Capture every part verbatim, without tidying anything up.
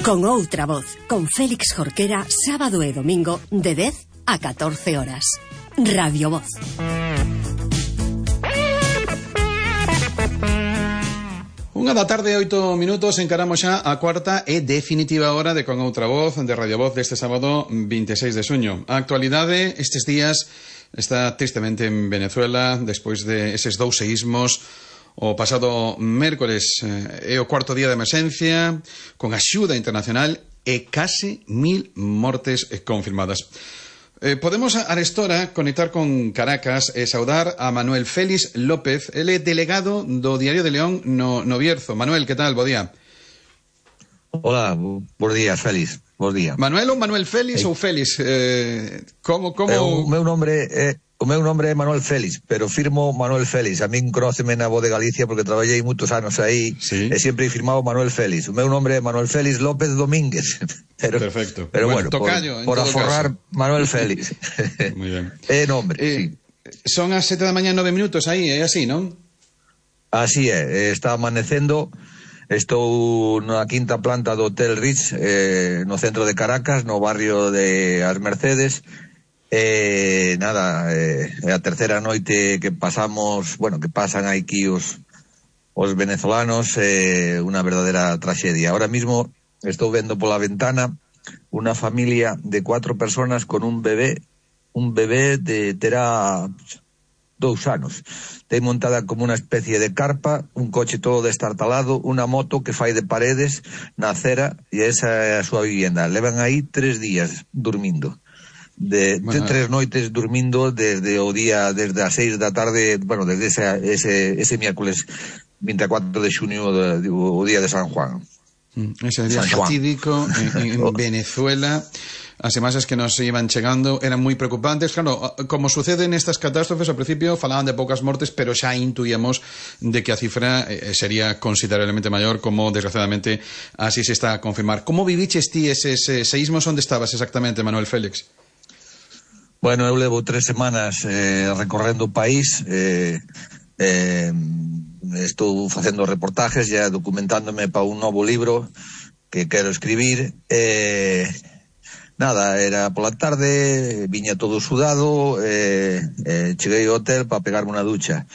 Con outra voz, con Félix Jorquera, sábado e domingo de dez a catorce horas. Radio Voz. Unha da tarde, oito minutos, encaramos xa a cuarta e definitiva hora de Con Outra Voz, de Radio Voz, deste sábado veintiséis de xuño. A actualidade estes días está tristemente en Venezuela, despois de eses dous seísmos. O pasado mércores é o cuarto día de emerxencia, con axuda internacional e case mil mortes confirmadas. Eh, podemos arestora conectar con Caracas e saudar a Manuel Félix López, ele é delegado do Diario de León no, no Bierzo. Manuel, que tal? Bo día. Hola, bons días, Félix. Bons días. Manuel ou Manuel Félix eh. ou Félix? Eh, como, como... Eh, o meu nombre é... O meu nombre é Manuel Félix, pero firmo Manuel Félix. A min conóceme na Voz de Galicia porque traballei moitos anos aí, sí. E sempre he firmado Manuel Félix. O meu nombre é Manuel Félix López Domínguez. Pero, perfecto. Pero bueno, bueno tocayo, por, por aforrar caso. Manuel Félix. Muy ben. É nombre, eh, sí. Son as sete da mañá nove minutos aí, é así, non? Así é, está amanecendo. Estou na quinta planta do Hotel Ritz, eh, no centro de Caracas, no barrio de As Mercedes. Eh, nada, é eh, a terceira noite que pasamos, bueno, que pasan aquí os, os venezolanos, eh, unha verdadera traxedia. Ahora mismo estou vendo pola ventana unha familia de cuatro personas con un bebé, un bebé de terá dous anos. Ten montada como unha especie de carpa, un coche todo destartalado, unha moto que fai de paredes na acera, e esa é a súa vivienda. Levan aí tres días dormindo. De, bueno, de tres noites dormindo desde o día, desde as seis da tarde, bueno, desde ese, ese, ese miércoles vinte e cuatro de xuño, de, o día de San Juan. Ese día fatídico en, en Venezuela. As imaxes que nos iban chegando eran moi preocupantes. Claro, como sucede nestas catástrofes, ao principio falaban de poucas mortes, pero xa intuíamos de que a cifra eh, sería considerablemente maior, como desgraciadamente así se está a confirmar. Como viviches ti eses eh, seísmos? Onde estabas exactamente, Manuel Félix? Bueno, eu levo tres semanas eh, recorrendo o país, eh, eh, estou facendo reportajes, ya documentándome para un novo libro que quero escribir. Eh, nada, era pola tarde, viña todo sudado, eh, eh, cheguei ao hotel para pegarme unha ducha.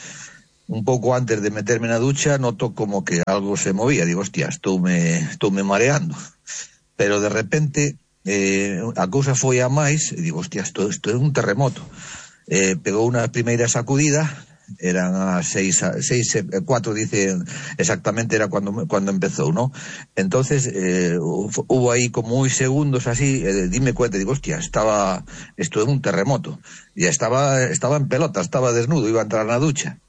Un pouco antes de meterme na ducha noto como que algo se movía, digo, hostia, estoume, estoume mareando. Pero de repente... Eh, a cousa foi a máis e digo, hostia, isto, isto é un terremoto. Eh, pegou unha primeira sacudida, eran as seis, seis, cuatro, dice exactamente, era cuando, cuando empezou, ¿no? Entonces, eh, hubo aí como uns segundos así, eh, dime cuenta, digo, hostia, estaba, isto é un terremoto. E estaba, estaba en pelota, estaba desnudo, iba a entrar na ducha.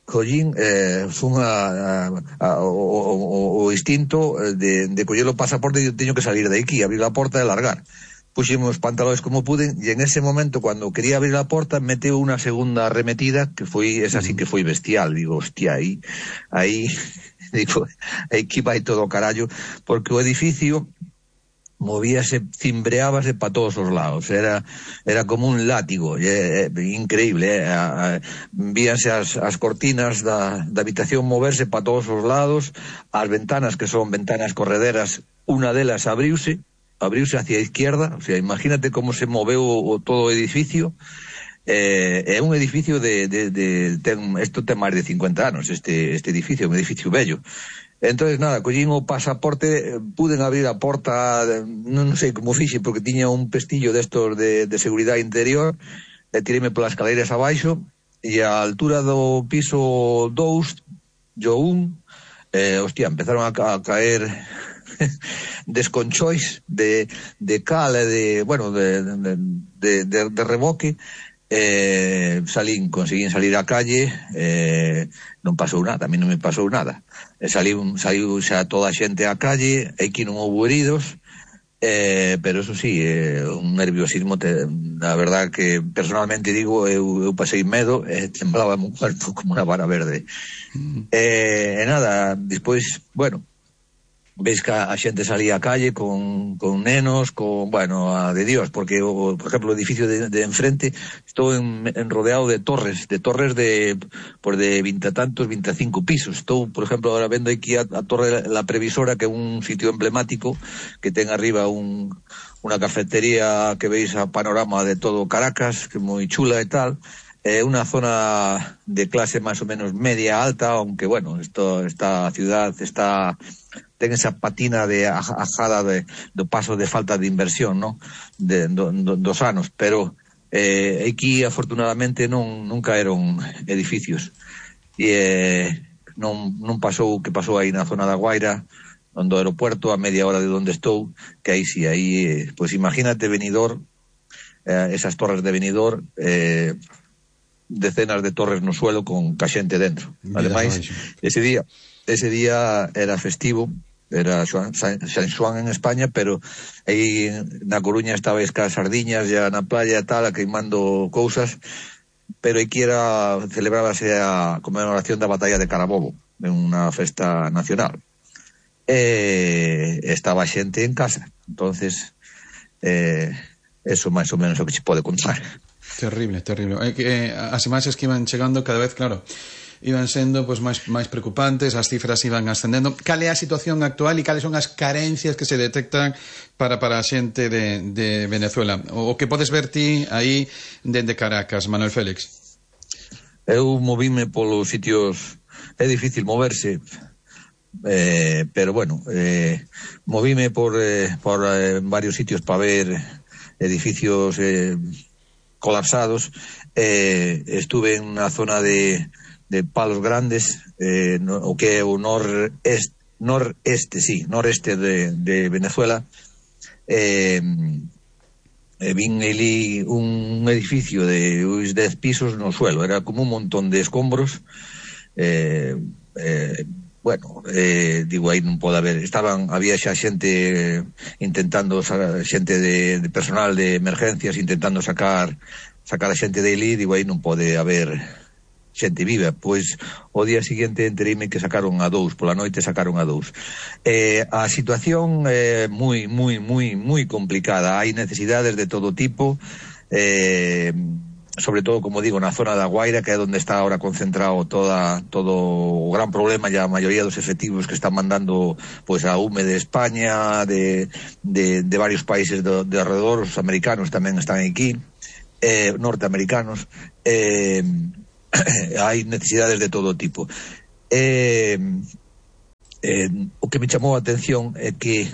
Collín, eh, fun a, a, a, o, o, o instinto de, de coller o pasaporte e teño que salir de aquí, abrir a porta e largar. Puxemos os pantalones como puden e en ese momento, cando quería abrir a porta, meteu unha segunda arremetida que foi, esa sí que foi bestial. Digo, hostia, aí, aí, digo, aquí vai todo o carallo, porque o edificio movíase, cimbreábase para todos os lados, era era como un látigo, é, é increíble, é, a, a, víanse as, as cortinas da, da habitación moverse para todos os lados, as ventanas, que son ventanas correderas, unha delas abriuse, abriuse hacia a izquierda, o sea, imagínate como se moveu o, o todo o edificio. Eh, é un edificio de, de, de ten, esto ten máis de cincuenta anos, este, este edificio, un edificio bello. Entonces, nada, collín o pasaporte, puden abrir a porta, non sei como fixe, porque tiña un pestillo destos de, de seguridade interior, e tiréme polas escaleiras abaixo, e a altura do piso dous, yo un, eh, hostia, empezaron a, ca a caer desconchois de, de cal e de, bueno, de, de, de, de, de reboque. Eh, salín, conseguín salir á calle, eh, non pasou nada, a mí non me pasou nada. Eh, saliu, saliu xa toda a xente á calle, aquí non houve heridos, eh, pero eso sí, eh, un nerviosismo, te, a verdad que personalmente digo, eu, eu pasei medo, eh, temblaba un cuerpo como unha vara verde. Mm. Eh, e nada, despois, bueno, ves que a xente salía a calle con, con nenos, con, bueno, a de Dios, porque, o, por exemplo, o edificio de, de enfrente, estou en, en rodeado de torres, de torres de, por de vinte tantos, veinticinco pisos. Estou, por exemplo, ahora vendo aquí a, a Torre La Previsora, que é un sitio emblemático, que ten arriba un, unha cafetería que veis a panorama de todo Caracas, que é moi chula e tal. É eh, unha zona de clase máis ou menos media alta, aunque, bueno, esto, esta ciudad está... ten esa patina de ajada de, do paso de falta de inversión, ¿no? De, do, do, dos anos, pero eh, aquí afortunadamente non, non caeron edificios e eh, non, non pasou o que pasou aí na zona da Guaira, onde o aeropuerto, a media hora de onde estou, que aí sí, aí, eh, pues imagínate Benidorm, eh, esas torres de Benidorm, eh, decenas de torres no suelo con ca xente dentro. Ademais, ese día ese día era festivo, era San, San Xoán en España, pero aí na Coruña estabais ca sardiñas ya na playa tal, a queimando cousas, pero aquí era, celebrábase a conmemoración da batalla de Carabobo, en unha festa nacional. E estaba xente en casa, entonces eh, eso máis ou menos o que se pode contar. Terrible, terrible. É que eh, as imaxes que iban chegando cada vez, claro, iban sendo pues, máis, máis preocupantes, as cifras iban ascendendo. Cal é a situación actual e cales son as carencias que se detectan para, para a xente de, de Venezuela? O, o que podes ver ti aí dende Caracas, Manuel Félix? Eu movíme polos sitios, é difícil moverse, eh, pero bueno, eh, movíme por, eh, por eh, varios sitios para ver edificios eh, colapsados. Eh, estuve en unha zona de de Palos Grandes, eh, no, o que é o noreste, noreste, sí, noreste de, de Venezuela. Eh, eh, vin ali un edificio de uns dez pisos no suelo, era como un montón de escombros. Eh, eh, bueno, eh, digo, aí non pode haber, estaban, había xa xente intentando, xente de, de personal de emergencias intentando sacar sacar a xente de ali, digo, aí non pode haber xente viva. Pois o día seguinte entereime que sacaron a dous, pola noite sacaron a dous. Eh, a situación é eh, moi, moi, moi, moi complicada. Hai necesidades de todo tipo, eh, sobre todo, como digo, na zona da Guaira, que é onde está ahora concentrado toda, todo o gran problema, e a maioría dos efectivos que están mandando pois a U M E de España, de, de, de varios países de, de alrededor, os americanos tamén están aquí, eh, norteamericanos, eh, hai necesidades de todo tipo. Eh, eh, o que me chamou a atención é que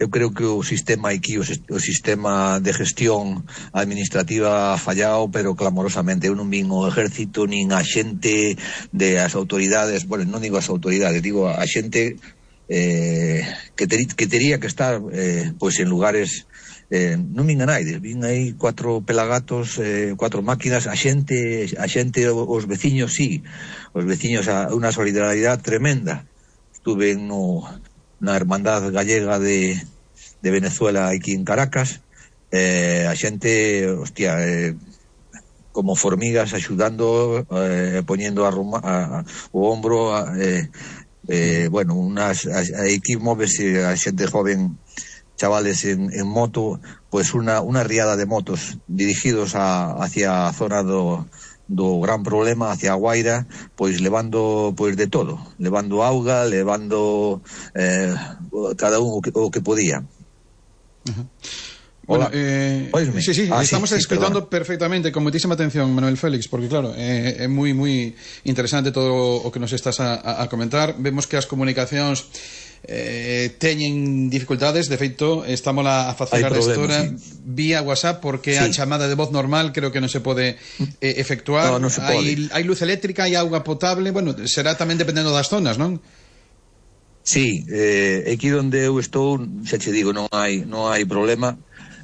eu creo que o sistema aquí, o, o sistema de gestión administrativa ha fallado, pero clamorosamente. Eu non vin o ejército nin a xente de as autoridades, bueno, non digo as autoridades, digo a xente eh, que, ter, que tería que estar eh, pois en lugares. Eh, non vin a naides, vin aí cuatro pelagatos, eh, cuatro máquinas, a xente, a xente, os veciños, sí, os veciños, a unha solidaridade tremenda. Estuve no, na Hermandad Gallega de, de Venezuela aquí en Caracas, eh, a xente, hostia, eh, como formigas axudando, eh, poñendo a, Roma, a, a, o hombro, a, eh, eh, bueno, unas, a, a aquí móvese a xente joven, chavales en, en moto, pues una, una riada de motos dirigidos a, hacia a zona do, do gran problema, hacia a Guaira, pois levando pois de todo, levando auga, levando eh, cada un o que, o que podía. Uh-huh. Bueno, eh, sí, sí, ah, estamos sí, escuchando sí, perfectamente, con muchísima atención, Manuel Félix, porque claro, é eh, moi moi interesante todo o que nos estás a, a comentar. Vemos que as comunicacións eh, teñen dificultades, de feito estamos a facer a restora sí. vía WhatsApp, porque sí. a chamada de voz normal creo que non se pode eh, efectuar. No, no se pode. Hai, hai luz eléctrica, hai auga potable, bueno, será tamén dependendo das zonas, non? Sí, eh, aquí onde eu estou, xa che digo, non hai non hai problema.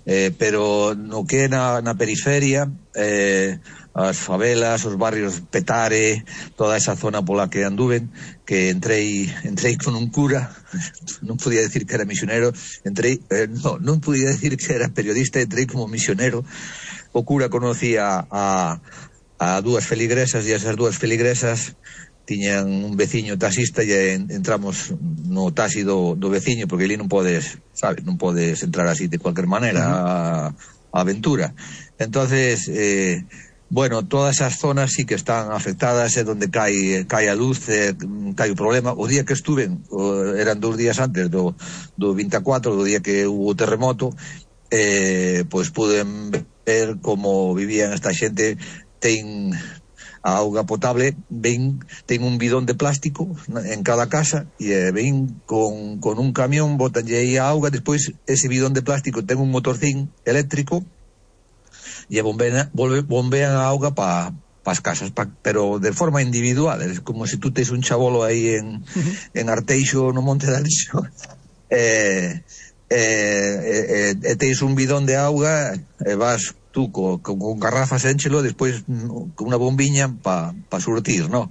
Eh, pero no que na, na periferia, eh, as favelas, os barrios Petare, toda esa zona pola que anduven, que entrei entrei con un cura, non podía decir que era misionero, entrei, eh, no, non podía decir que era periodista, entrei como misionero. O cura conocía a, a dúas feligresas, e esas dúas feligresas tiñan un veciño taxista e entramos no taxi do, do veciño, porque ali non podes, sabes, non podes entrar así de cualquier maneira a, a aventura. Entonces, eh, bueno, todas esas zonas sí que están afectadas, é donde cae, cae a luz, eh, cae o problema. O día que estuven, o, eran dos días antes do, do veinticuatro, do día que hubo o terremoto, eh, pois puden ver como vivían esta xente. Ten a auga potable, ven, ten un bidón de plástico en cada casa e eh, ven con, con un camión, botanlle aí a auga, despois ese bidón de plástico ten un motorcín eléctrico e bombean, bombean a auga para pa as casas, pa, pero de forma individual. É como se tú tes un chabolo aí en, uh-huh. en Arteixo, no Monte de Alixo, e eh, eh, eh, eh, tens un bidón de auga e vas tú con, con, con garrafas énchelo, despois con unha bombiña para pa surtir, no?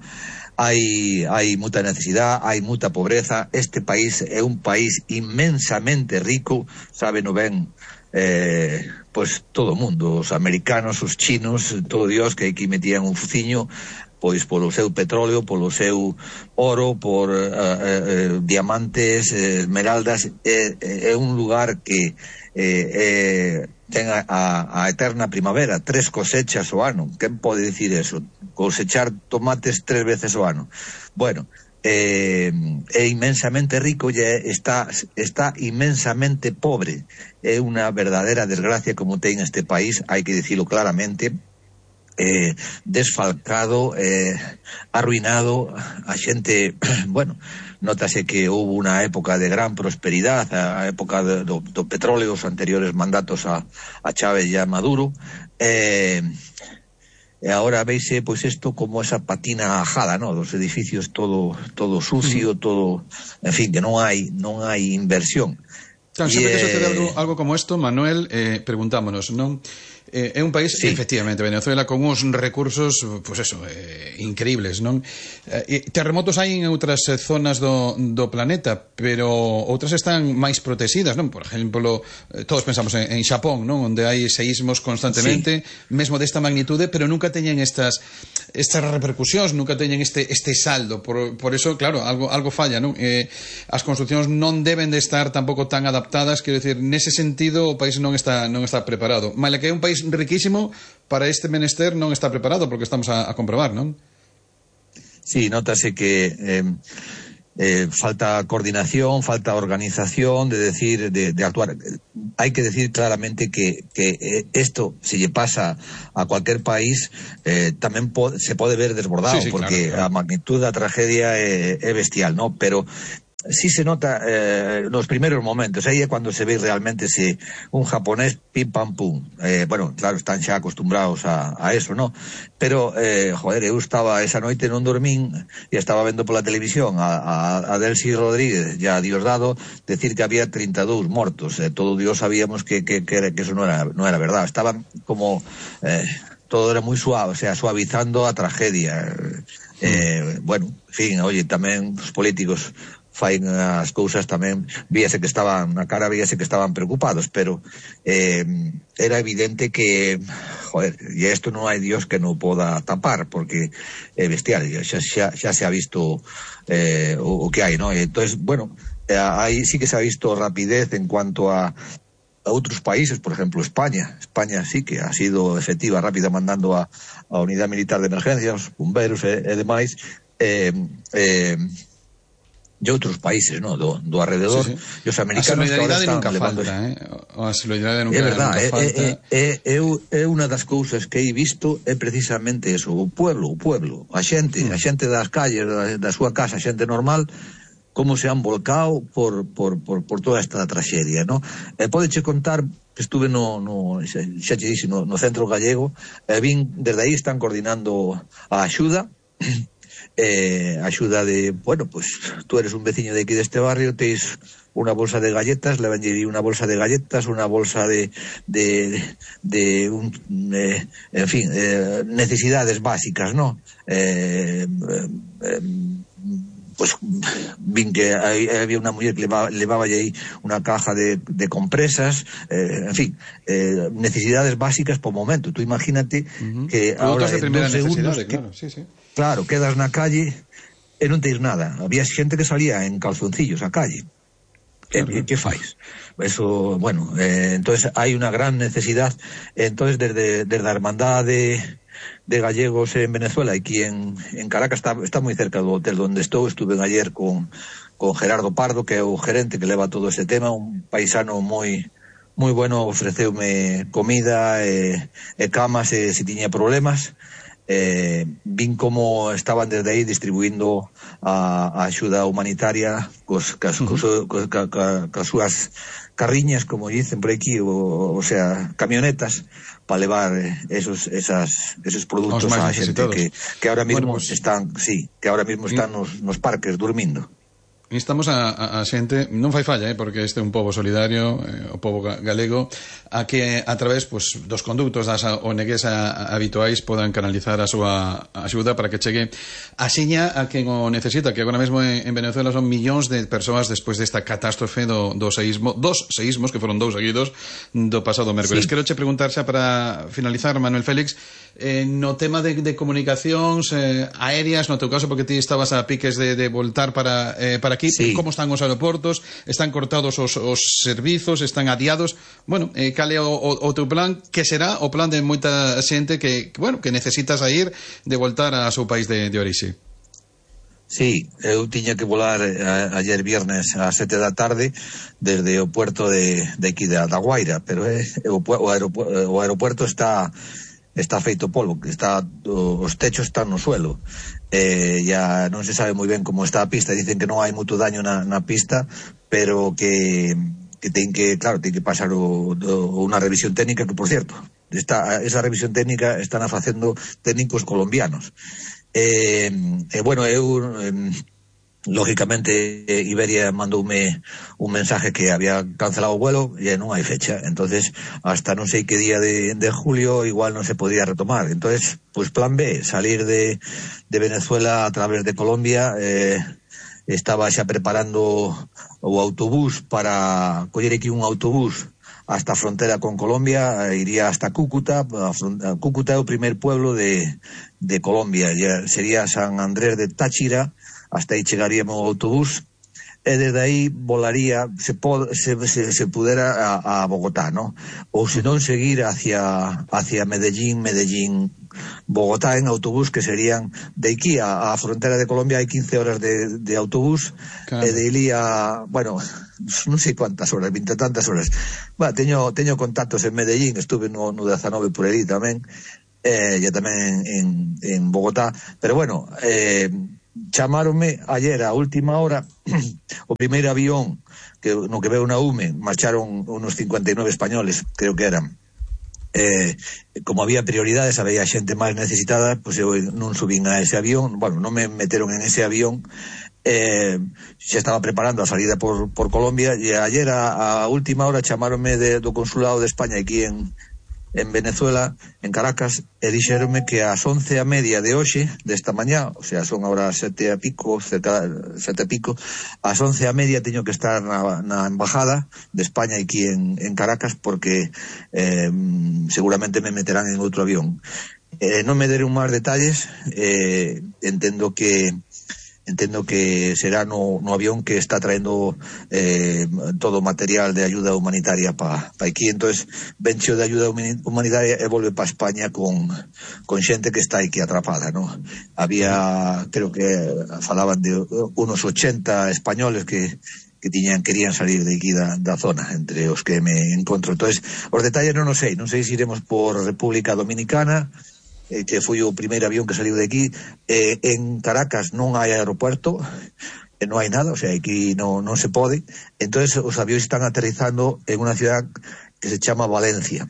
Hai, hai muita necesidade, hai muita pobreza. Este país é un país inmensamente rico, sabe no ben, eh, pois todo o mundo, os americanos, os chinos, todo Dios, que aquí metían un fuciño, pois polo seu petróleo, polo seu oro, por uh, uh, uh, diamantes, uh, esmeraldas. É, é un lugar que eh, eh, ten a, a eterna primavera, tres cosechas o ano. Quen pode dicir eso? Cosechar tomates tres veces o ano. Bueno, eh, é inmensamente rico e está, está inmensamente pobre. É unha verdadera desgracia como ten este país, hai que dicilo claramente. Eh, desfalcado, eh, arruinado, a xente, bueno, notase que houve unha época de gran prosperidade, a época de, do, do petróleo, os anteriores mandatos a, a Chávez e a Maduro, eh, e agora veise pois isto como esa patina ajada, ¿no? Dos edificios todo todo sucio, todo, en fin, que non hai non hai inversión. Claro, sempre que sucede algo, algo como isto, Manuel, eh, preguntámonos, non? Eh, é un país, sí, efectivamente, Venezuela, con uns recursos, pois pues eso, eh, increíbles, non? Eh, terremotos hai en outras eh, zonas do, do planeta, pero outras están máis protegidas, non? Por exemplo, eh, todos pensamos en, en Xapón, non? Onde hai seísmos constantemente, sí, mesmo desta magnitude, pero nunca teñen estas estas repercusións, nunca teñen este este saldo. Por, por eso, claro, algo algo falla, non? Eh, as construcións non deben de estar tampouco tan adaptadas, quero dicir, nese sentido o país non está non está preparado. Maila que é un país riquísimo, para este menester non está preparado, porque estamos a, a comprobar, non? Sí, notase que eh, eh, falta coordinación, falta organización, de decir, de, de actuar. Hai que decir claramente que, que esto, si lle pasa a cualquier país, eh, tamén po se pode ver desbordado, sí, sí, porque claro, claro. A magnitud da tragedia é, é bestial, ¿no? Pero sí se nota eh, nos primeiros momentos, aí é cando se ve realmente se un japonés pim pam pum, eh, bueno, claro, están xa acostumbrados a, a eso, ¿no? Pero, eh, joder, eu estaba esa noite non dormín e estaba vendo pola televisión a, a, a Delcy Rodríguez e a Diosdado decir que había treinta e dous mortos, eh, todo Dios sabíamos que, que, que, que eso non era, non era verdad, estaban como eh, todo era moi suave, o sea, suavizando a tragedia, eh, bueno, en fin, oye, tamén os políticos fain as cousas tamén, víase que estaban na cara, víase que estaban preocupados, pero eh, era evidente que, joder, e isto non hai Dios que non poda tapar, porque é bestial, xa, xa, xa se ha visto eh, o, o que hai, ¿no? Entonces, bueno, eh, aí sí que se ha visto rapidez en cuanto a a outros países, por exemplo, España. España sí que ha sido efectiva, rápida, mandando a, a unidade militar de emergencias, bomberos e, e demais, eh, eh, de outros países, ¿no? Do, do alrededor, sí, sí. E os americanos a solidaridade nunca levando... falta, eh? A solidaridade nunca, é verdad, nunca é, falta. É, é, é, é unha das cousas que he visto é precisamente eso, o pueblo, o pueblo, a xente, mm. a xente das calles, da, da súa casa, a xente normal, como se han volcado por, por, por, por toda esta traxedia, ¿no? Eh, Podeche contar, estuve no, no xa, xa che dixi, no, no centro gallego, e eh, vin, desde aí están coordinando a axuda, eh, axuda de, bueno, pues tú eres un veciño de aquí deste barrio, teis unha bolsa de galletas, levanlle unha bolsa de galletas, unha bolsa de de, de, de un, eh, en fin, eh, necesidades básicas, ¿no? Eh, eh, pues vin que hay, había una muller que levaba, levaba aí una caja de, de compresas, eh, en fin, eh, necesidades básicas por momento. Tú imagínate uh-huh. que productos ahora de primera necesidade, que, claro, sí, sí. Claro, quedas na calle e non tens nada. Había xente que salía en calzoncillos á calle. Claro. E, que fais? Eso, bueno, eh, entonces hai unha gran necesidad. Entonces desde, desde a Hermandade de, de Gallegos en Venezuela, aquí en, en Caracas, está, está moi cerca do hotel onde estou. Estuve ayer con, con Gerardo Pardo, que é o gerente que leva todo ese tema, un paisano moi moi bueno, ofreceume comida e, e camas e se tiña problemas. Eh, vin como estaban desde aí distribuindo a, a axuda humanitaria cos, cas, cos, cos, ca, ca, cas súas carriñas, como dicen por aquí, o, o sea, camionetas para levar esos esas esos produtos a xente que, que ahora mismo bueno, pues, están, sí, que ahora mismo están nos, nos parques durmindo. Instamos a, a, a xente, non fai falla, eh, porque este é un pobo solidario, eh, o pobo galego, a que a través pues, dos conductos das O N Gs a, a, habituais podan canalizar a súa axuda para que chegue a xiña a quen o necesita, que agora mesmo en, en Venezuela son millóns de persoas despois desta catástrofe do, do seísmo, dos seísmos, que foron dous seguidos, do pasado mércoles. Sí. Quero che preguntar xa para finalizar, Manuel Félix, eh, no tema de, de comunicacións eh, aéreas, no teu caso, porque ti estabas a piques de, de voltar para, eh, para aquí, sí. Como están os aeroportos? Están cortados os, os servizos? Están adiados? Bueno, eh, cal é o, o, o teu plan? Que será o plan de moita xente que, que, bueno, que necesitas a ir de voltar ao seu país de, de orixe? Sí, eu tiña que volar a, ayer viernes a sete da tarde desde o puerto de, de aquí da, da Guaira, pero eh, o, o, aeropuerto, o aeropuerto está está feito polvo, que está os techos están no suelo. Eh, ya non se sabe moi ben como está a pista, dicen que non hai moito daño na, na pista, pero que que ten que, claro, ten que pasar o, o, unha revisión técnica, que por cierto, está, esa revisión técnica están a facendo técnicos colombianos. Eh, eh, bueno, eu eh, lógicamente Iberia mandoume un mensaje que había cancelado o vuelo e non hai fecha, entonces hasta non sei que día de, de julio igual non se podía retomar. Entonces, pues plan B, salir de, de Venezuela a través de Colombia. eh, estaba xa preparando o autobús para coller aquí un autobús hasta a frontera con Colombia, iría hasta Cúcuta. Cúcuta é o primer pueblo de, de Colombia, ya sería San Andrés de Táchira, hasta aí chegaríamos o autobús, e desde aí volaría, se, pod, se, se, se pudera a, a Bogotá, ¿no? Ou se non seguir hacia, hacia Medellín, Medellín, Bogotá en autobús, que serían de aquí a, a frontera de Colombia hai quince horas de, de autobús, claro. E de ilí a, bueno, non sei cuántas horas, vinte tantas horas. Bueno, teño, teño contactos en Medellín, estuve no, no dezanove por aí tamén, eh, e tamén en, en Bogotá, pero bueno, eh, chamáronme ayer a última hora o primeiro avión que no que veo na U M E, marcharon unos cincuenta y nueve españoles, creo que eran. Eh, como había prioridades, había xente máis necesitada, pois pues eu non subín a ese avión, bueno, non me meteron en ese avión. Eh, xa estaba preparando a salida por, por Colombia, e ayer a, a última hora chamáronme de, do consulado de España aquí en en Venezuela, en Caracas, e dixeronme que ás once a media de hoxe, desta mañá, o sea, son agora sete a pico, cerca, sete a pico, ás once a media teño que estar na, na embajada de España aquí en, en Caracas, porque eh, seguramente me meterán en outro avión. Eh, non me deron máis detalles, eh, entendo que Entendo que será no, no avión que está traendo eh, todo o material de ayuda humanitaria para pa aquí. Entonces, vencho de ayuda humanitaria e volve para España con, con xente que está aquí atrapada, ¿no? Había, creo que falaban de unos ochenta españoles que que tiñan querían salir de aquí da, da zona, entre os que me encontro. Entonces, os detalles non os sei, non sei se iremos por República Dominicana, eh, que foi o primeiro avión que saliu de aquí. Eh, en Caracas non hai aeropuerto, eh, non hai nada, o sea, aquí non, non se pode. Entonces os avións están aterrizando en unha ciudad que se chama Valencia.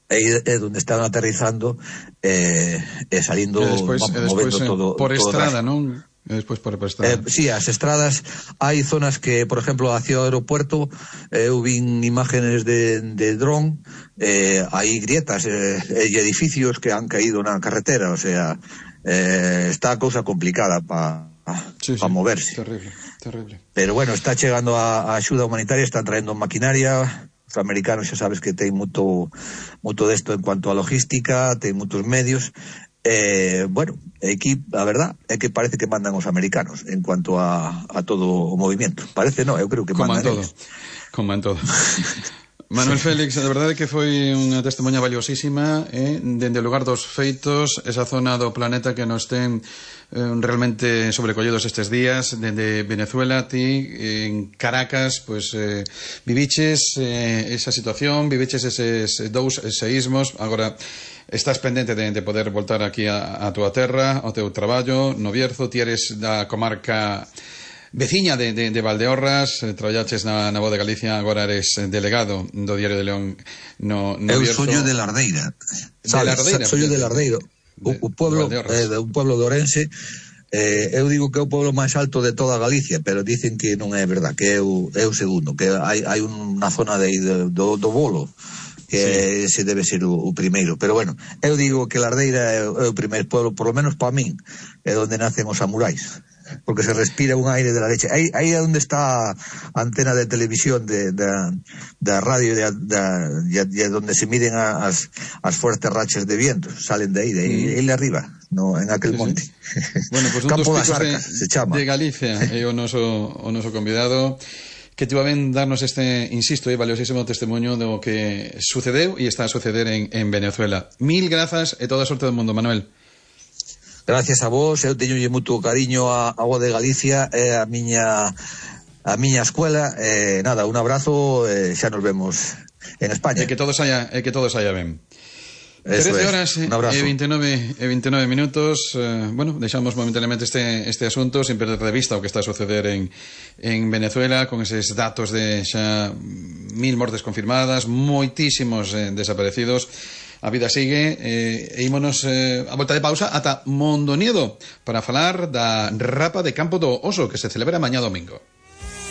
Aí é onde están aterrizando eh, e salindo, e despois, vamos, e despois, movendo todo por todo estrada, non? E despois por estrada. Eh, sí, as estradas, hai zonas que, por exemplo, hacia o aeropuerto, eh, eu vin imágenes de, de dron, eh, hai grietas eh, e edificios que han caído na carretera, o sea, eh, está a cousa complicada para sí, sí, moverse. Terrible, terrible. Pero bueno, está chegando a, a axuda humanitaria, están traendo maquinaria. Os americanos xa sabes que ten moito moito desto en cuanto a logística, ten moitos medios. Eh, bueno, aquí a verdad é que parece que mandan os americanos en cuanto a, a todo o movimento. Parece, no, eu creo que como mandan en todo. Como en todo. Manuel Félix, de verdade que foi unha testemunha valiosísima, eh? Dende o lugar dos feitos, esa zona do planeta que nos ten eh, realmente sobrecollidos estes días, dende Venezuela, ti en Caracas, pues eh, viviches eh, esa situación, viviches eses dous seísmos, agora estás pendente de, de poder voltar aquí a, a túa terra, ao teu traballo, no Bierzo, ti eres da comarca veciña de, de, de Valdeorras, eh, traballaches na, na Voz de Galicia, agora eres delegado do Diario de León no, no Eu Bierzo. soy de Lardeira, de Lardeira, soy de Lardeiro, de, o, o pueblo, de, eh, de un pueblo de Ourense. Eh, eu digo que é o pueblo máis alto de toda Galicia, pero dicen que non é verdad, que é o, é o segundo, que hai, hai unha zona de, de, do, do Bolo que sí, ese debe ser o, o primeiro, pero bueno, eu digo que Lardeira é, é o primeiro pueblo, por lo menos para min, é onde nacen os samurais, porque se respira un aire de la leche. Aí, aí é onde está a antena de televisión de, de, de radio de, de, de, de donde se miden a, as, as fuertes rachas de viento, salen de aí, de aí, mm. aí arriba, no, en aquel sí, monte. Sí. Bueno, pues un Campo dos das Arcas, de, se chama. De Galicia, é o noso, o noso convidado, que te va a ben darnos este, insisto, eh, valiosísimo testemunho do que sucedeu e está a suceder en, en Venezuela. Mil grazas e toda a sorte do mundo, Manuel. Gracias a vos, eu teño moito cariño a, a Voz de Galicia e a miña a miña escuela, eh, nada, un abrazo, eh, xa nos vemos en España. E que todos haya, e que todos haya ben. Eso trece es. horas e veintinueve, e veintinueve minutos. eh, bueno, deixamos momentáneamente este, este asunto sin perder de vista o que está a suceder en, en Venezuela, con eses datos de xa mil mortes confirmadas, moitísimos eh, desaparecidos. A vida sigue, eh, e ímonos eh, a volta de pausa ata Mondoñedo para falar da Rapa de Campo do Oso, que se celebra mañá domingo.